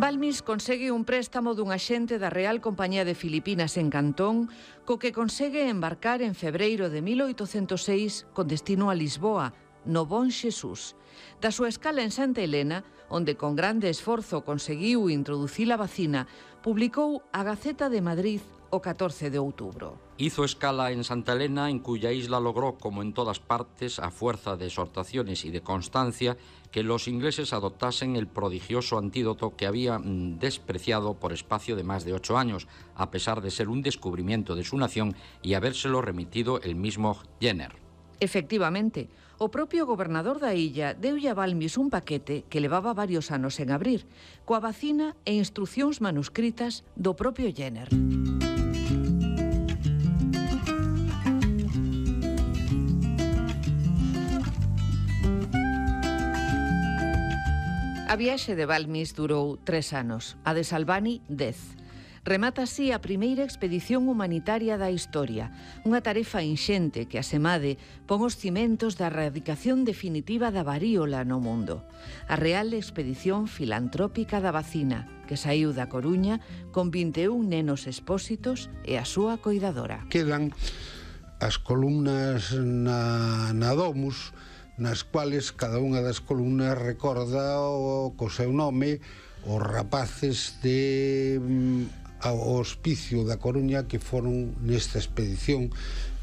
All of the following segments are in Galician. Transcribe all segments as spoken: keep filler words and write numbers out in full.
Balmis consegue un préstamo dun axente da Real Compañía de Filipinas en Cantón, co que consegue embarcar en febreiro de mil oitocentos seis con destino a Lisboa, no Bon Xesús. Da súa escala en Santa Helena, onde con grande esforzo conseguiu introducir a vacina, publicou a Gaceta de Madrid o catorce de outubro. Hizo escala en Santa Elena, en cuya isla logró, como en todas partes, a fuerza de exhortaciones y de constancia, que los ingleses adoptasen el prodigioso antídoto que había despreciado por espacio de más de ocho años, a pesar de ser un descubrimiento de su nación y habérselo remitido el mismo Jenner. Efectivamente, o propio gobernador da illa deulle a Balmis un paquete que levaba varios anos en abrir, coa vacina e instruccións manuscritas do propio Jenner. A viaxe de Balmis durou tres anos, a de Salvani, dez. Remata así a primeira expedición humanitaria da historia, unha tarefa inxente que, asemade, pon os cimentos da erradicación definitiva da varíola no mundo. A Real Expedición Filantrópica da Vacina, que saíu da Coruña con vinte e un nenos expósitos e a súa coidadora. Quedan as columnas na, na Domus, nas cuales cada unha das columnas recorda o, co seu nome os rapaces de ao hospicio da Coruña que foron nesta expedición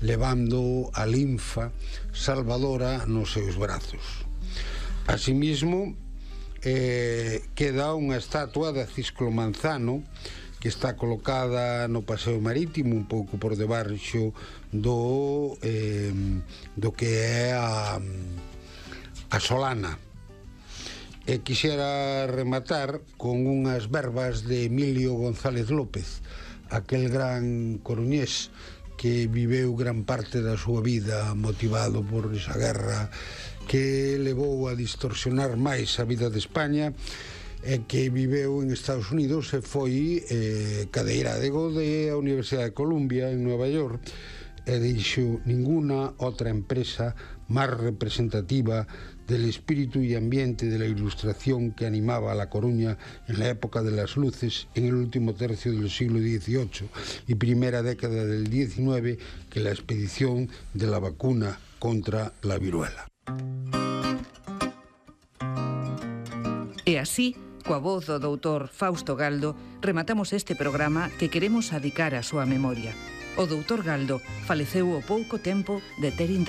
levando a linfa salvadora nos seus brazos. Asimismo, eh, queda unha estatua de Cisclo Manzano que está colocada no Paseo Marítimo, un pouco por debaixo do, eh, do que é a, a Solana. E quixera rematar con unhas verbas de Emilio González López, aquel gran coruñés que viveu gran parte da súa vida motivado por esa guerra que levou a distorsionar máis a vida de España, e que viveu en Estados Unidos e foi eh, cadeirádego da Universidade de Columbia en Nueva York, e dixo: ninguna outra empresa máis representativa del espíritu y ambiente de la ilustración que animaba a La Coruña en la época de las luces en el último tercio del siglo dieciocho y primera década del diecinueve que la expedición de la vacuna contra la viruela. E así, coa voz do doutor Fausto Galdo, rematamos este programa que queremos adicar á súa memoria. O doutor Galdo faleceu ao pouco tempo de ter intervenido.